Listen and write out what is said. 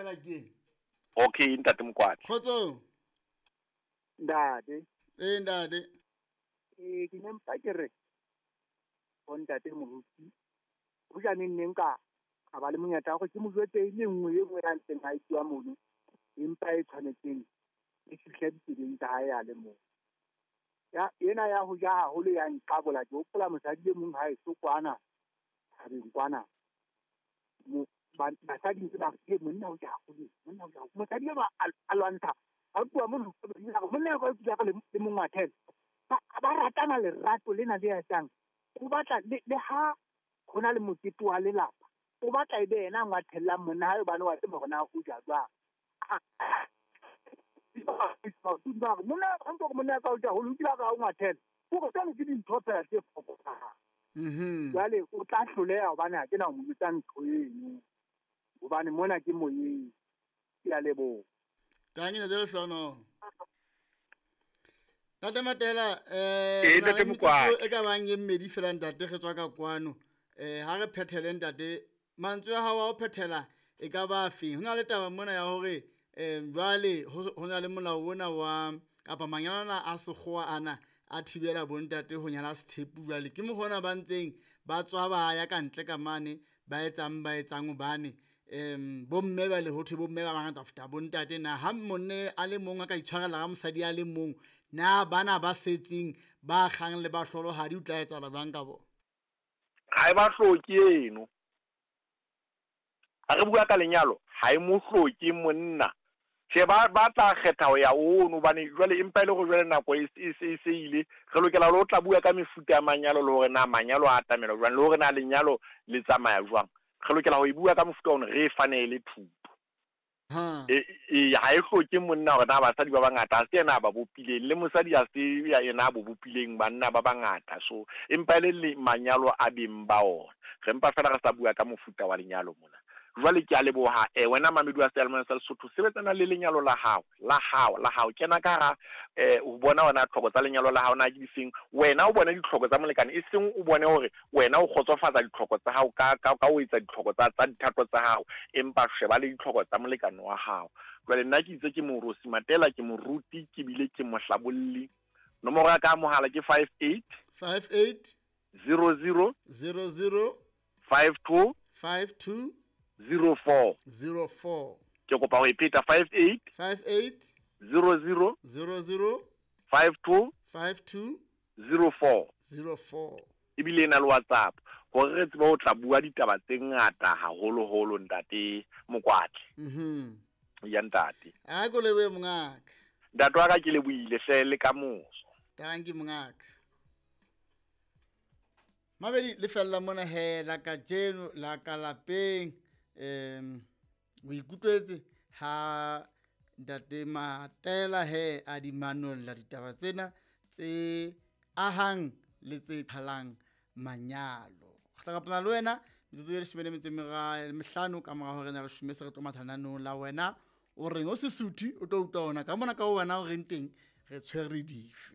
Matela ke. Okay ntate Mokwatla. Kgotsong. Ntate. Ee ntate. Ee ke ne mpa ke re ho ntate moruti ho ja neng neng ka ka ba le monyetla wa gore ke mo jwetse e le nngwe e nngwe ya ntseng a e mono empa e tshwanetseng e fihle ditsebeng tsa hae a le mong. Ya ena ya ho ja haholo ya nqabola ke hopola mosadi e mong ha eso kwana thabeng kwana basadi ntse ba re monna o ja haholo monna o ja haholo mosadi enwa a lwantsha a tloha mono monna ya ka le mongwathele ba ratana lerato lena le etsang o batla le ha ho na le mokete wa lelapa o batla e be yena a ngwathellang monna hae hobane wa tseba hore na o ja jwang. Monna ha monna ka o ja haholo o kile a ka o ngwathela hore jwale ke dintho fela tse fokolang. Jwale o tla hloleha hobane ha ke na ho mo jwetsa ntho eno hobane mona ke moyeng. Ke a leboha. Tanki ntate Lehlohonolo. Ntate Matela ntate Mokwatla. E ka bang e mmedi fela ntate re tswa ka kwano. Ha re phethele ntate mantswe a hao a ho phethela e ka ba feng? Ho na le taba mona ya hore jwale ho na le molao ona wa kapa manyalo ana a sekgowa ana a thibela bontate ho nyala sethepu jwale ke mokgwa ba ntseng ba tswa ba ya ka ntle ka mane ba etsang hobane bomme ba le ho thwe bomme ba bangata ho feta bontate na ha monne a le mong a ka itshwarela ka mosadi a le mong na bana ba setseng ba kgang le ba hlolohadi o tla etsahala jwang ka bona? Ha e ba hloke eno. Ha re bua ka lenyalo ha e mo hloke monna. Tjhe ba tla kgetha ho ya ono hobane jwale empa e le hore jwale nako e se ile re lokela le ho tla bua ka mefuta ya manyalo le hore na manyalo a atamela jwang le hore na lenyalo le tsamaya jwang. Re lokela ho e bua ka mofuta ono re e fane e le thuto. Ha e hloke monna hore na basadi ba bangata ha se yena a ba bopileng le mosadi ha se yena a bo bopileng banna ba bangata so empa e le manyalo a beng ba ona. Re mpa fela re sa bua ka mofuta wa lenyalo mona. Jwale ke a leboha wena mamedi wa seyalemoya sa Lesotho sebetsana le lenyalo la hao la hao la hao kena ka hara o bona wena tlhoko tsa lenyalo la hao na ke difeng wena o bone ditlhoko tsa molekane e seng o bone hore wena o kgotsofatsa ditlhoko tsa hao ka o etsa ditlhoko tsa dithato tsa hao empa sheba le ditlhoko tsa molekane wa hao. Jwale nna ke itse ke Morosi Matela ke moruti ke bile ke mohlabolli. Nomoro ya ka mohala ke 58 58 00 00 52 52 04 04. Ke kopa ho e pheta 58 58 00 00 52 52 04 04. Ebile e na le WhatsApp hore re tsebe ho tla bua ditaba tse ngata haholoholo ntate Mokwatla. Ya ntate. A ko lebohe mongaka. Ntate wa ka ke lebohile hle le ka moso. Tanki mongaka. Mabedi le fella mona he la kajeno la ka lapeng. O ikutlwetse ha ntate Matela he a di manolla ditaba tsena tse ahang le tse qhalang manyalo. Re tla kopana le wena metsotso e 15 ka mora hore na re shume se re tlo mathananong la wena o reng o sesuthu o tlo utlwa ona ka mona ka wena o reng teng re tshwere dife.